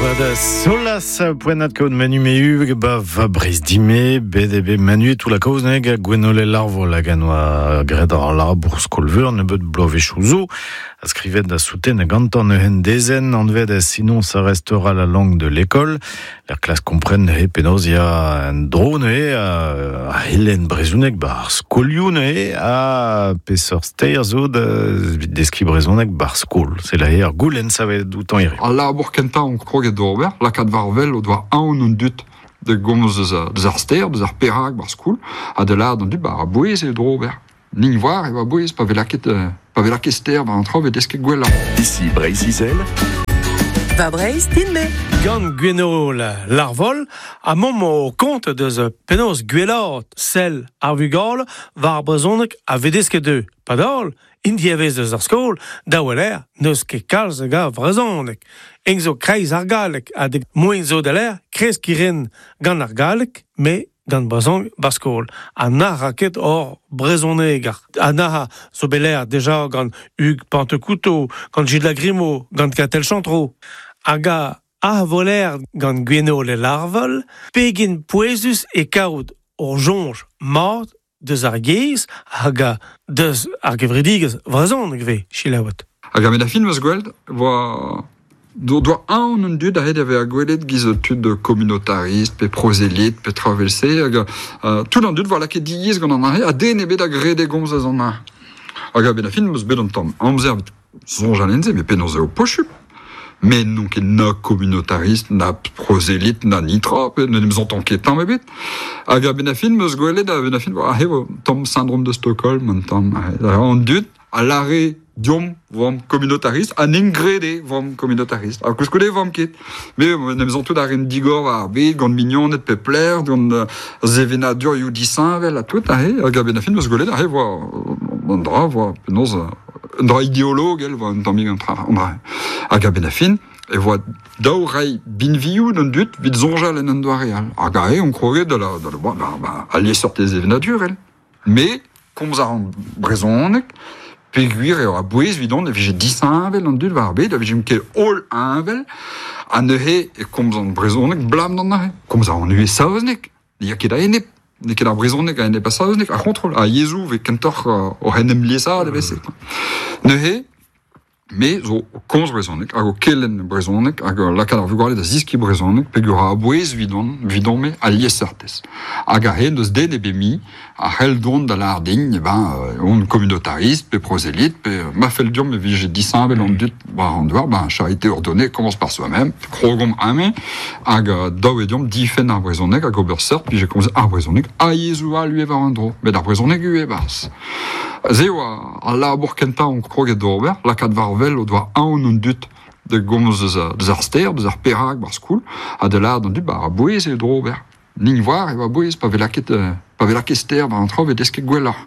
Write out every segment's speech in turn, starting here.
Vad solas poenat kaout Manu Mehu ba va Breiz dime bet eo bet Manu tout la kaoz neg Gwenole Larvol hag an oa graet ar labour skolveur nebeut bloavezhioù zo a skrivet da souten gantañ neuzen dezenn anvet sinon ça restera la langue de l'école Er klas kompren neuze penaos ya un dro neuze a helen brezhoneg bar skolioù neuze ha peseurt ster zo da deskiñ brezhoneg bar skol. C'est la ar goulenn savet outañ ivez. Al labour kentañ on kroget d'ober, lakaat war wel o doa aon an dud da gomz deus ar ster, deus ar perak bar skol, ha da lâret an dud ba a-bouez eo d'ober. Nin war eo a-bouez pa vez lakaet pa vez lakaet ster war an traoù vez desket gwellañ. Ici Breizh-Izel. Va Breizh din-me. Gant Gwenole Larvol ha momp o kont deus penaos gwellaat sell ar vugale war ar brezhoneg a vez desket dezhe. Padal, int diavez deus ar skol, da weler n'eus ket kalz a gav brezhoneg. Eng zo kreiz ar galleg ha moen zo da ler kreskiñ ren gant ar galleg, met gant brezhoneg ba skol. Ha na ra ket hor brezhoneger. Ha na zo bet lâret deja gant Hugues Pentecouteau, gant Gilles Lagrimaud, gant Katell Chantreau. Hag a voler gant Gwenole Larvol, pegen pouezus e kaout hor soñj mat deus ar yezh hag deus ar gevredigezh vrezhonek vez selaouet. Hag a-benn ar fin 'meus gwel't 'voa doa aon an dud aet da vezañ gwelet giz tud communautarist pe prozelit pe traoù evel-se hag tout an dud 'voa lakaet diaes gant an aze ha den ebet a grede gomz eus an aze. Hag a-benn ar fin 'meus bet un tamm amzer evit soñjal en se met penaos eo posupl? Me n'on ket na communautarist na prozelit na nitra pe n'en em santan ket tamm ebet. Hag a-benn ar fin 'meus gwelet a-benn ar fin aze eo tamm syndrome de Stockholm un tamm an dud a lâre deomp 'vomp communautarist ha n'int graet 'vomp communautarist. Ha koulskoude 'vomp ket. Me en em santout a rin digor war ar bed gant mignoned pep lec'h, gant sevenadurioù disheñvel ha tout aze. Hag a-benn ar fin 'meus gwelet aze 'voa an dra 'voa penaos un dra ideologel 'voa un tammig an dra. Hag a-benn ar fin e voa dav reiñ binvioù d'an dud evit soñjal en un doare all. Hag aze on kroget da la, da la, ba, ba, al liesseurted sevenadurel. Me, komz a ran brezhoneg, peogwir eo a-bouez evidon e vije disheñvel an dud war ar bed, a vijemp ket holl heñvel, ha neuze e komzan brezhoneg 'blam d'an aze. Komz a ran ivez saozneg, ne ya ket a-enep, n'eo ket ar brezhoneg a-enep ar saozneg, ar c'hontrol, ar yezhoù 'vez kentoc'h oc'h en em liesaat evel-se. Neuze, Me zo o komz brezhoneg hag o kelenn brezhoneg hag o lakaat ar vugale da zeskiñ brezhoneg peogwir a-bouez evidon, evidon-me al liesseurtes. Hag a-hed n'eus den ebet mui a c'hell dont da lâret din eh ben on communautariste pe prosélyte pe ma fell deomp e vije disheñvel an dud war an douar, ben charité ordonnée commence par soi-même, krogomp amañ hag dav eo deomp difenn ar brezhoneg hag ober seurt vije komzet ar brezhoneg ha yezhoù all ivez war un dro, met ar brezhoneg ivez e-barzh. Se oa al labour kentañ on kroget d'ober, lakaat war wel o doa aon an dud da gomz eus ar ster, eus ar perak ba'r skol, ha da lâret d'an dud ba a-bouez eo d'ober. Nin 'oar eo a-bouez pa vez lakaet pa vez lakaet ster war an traoù 'vez desket gwelloc'h.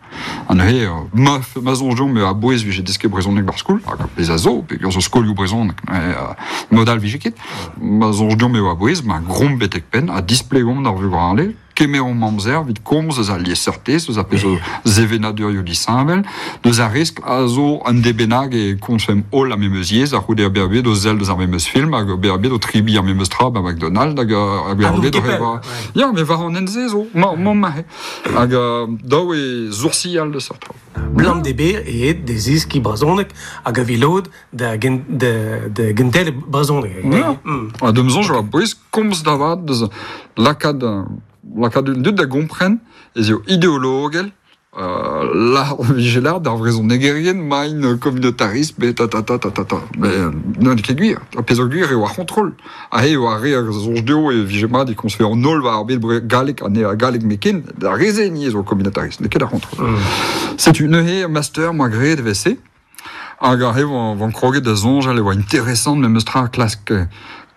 Ha neuze ma ma soñj deomp eo a-bouez 'vije desket brezhoneg ba'r skol, hag ar pezh a zo, peogwir zo skolioù brezhonek, mod all 'vije ket. Ma soñj deomp eo a-bouez, ma gromp betek penn ha displegomp d'ar vugale Kemeromp amzer evit komz eus al liesseurtez, eus ar pezh zo sevenadurioù disheñvel, deus ar riskl a zo un de bennak e komzfemp holl ar memes yezh, a-c'houde ar bezañ bet o sell deus ar memes film hag bezañ bet o tribiñ ar memes tra ba McDonald's hag bezañ bet oc'h evañ. Ya, mais war an hent-se zo, mamm aze. Hag dav eo soursial deus seurt traoù. Blam d'e e de zeskiñ brezhoneg hag a vilod da gentel brezhoneg. Ya, ha d'am soñj oa bouez komz da vat deus lakaat lakaat an dud da gompren ez eo ideologel lâr vije lâret d'ar vrezhonegerien maint communautaristes bet ta ta ta ta ta ta met n'eo ket gwir ar pezh zo gwir eo ar c'hontrol aze eo ar re a soñj dezho e vije mat e komzfe an holl war ar bed galleg ha ne galleg met d'ar re-se ni zo communautariste n'eo ket ar c'hontrol setu neuze master 'moa graet evel-se Hag aze 'oan kroget da soñjal e oa interesant memes tra klask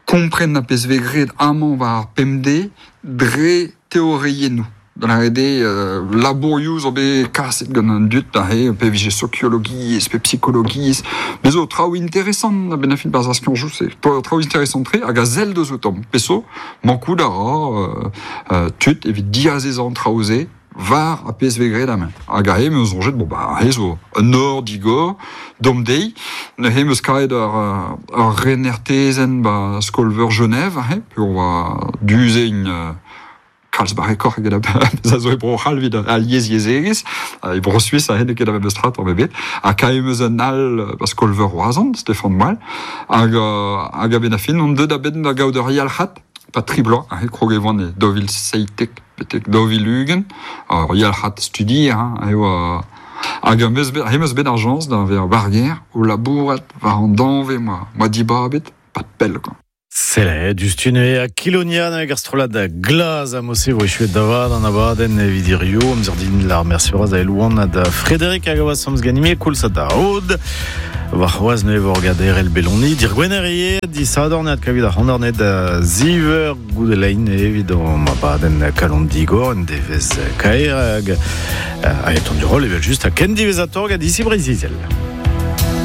kompren ar pezh 'vez graet amañ war ar pemdez dre teoriennoù. Da lâret eo labourioù zo bet kaset gant an dud aze, pe vije sokiologiezh pe psikologiezh. Bez zo traoù interesant a-benn ar fin barzh ar skianchoù-se. Traoù interesant-tre hag a sell deus outañ. Pezh zo, mankout a ra tud evit diazezañ an traoù-se. var a PSV gred amen. Hag a he meus zonjet, bon ba, he zo un or digor, dom dei, ne he meus kaet ur renertezen ba skolveur Genève, he, pe on va duze in kalz barrekoc'h eget a zo e bro c'hall vid a liez yezegez, e bro Suisse a hen ket a bebestrat ar bebet, ha kae meus un al ba skolveur Roazhon, Stéphane Moal, hag, hag a ben a fin, on deud a ben da gaout ur yalc'hat, pa tri bloaz, he krog e voan e dovil seitek, betek dovil ugen, ur yalc'hat studi, hein, eo hag meus bet, he meus bet ar jans da ver barger, o labourat, war an danve, moa dibabet, pas de pell, quoi. Sele, dustune a Kilonian hag ar strollad glaz a mose vo echuet davad an abadenn evit hirio, amzer din lar merci bras da Elouan ha da Frédéric hag a oa samz ganime koulz ha da Aod. War c'hoaz ne vo gader el Beloni, dir gwener ie, di sadorn ad kavit ar c'hondarnet da ziver goudelein evit an abadenn kalon digor, en devez kaer hag a eton du rol evel just a ken divezator gant disi Breiz-Izel.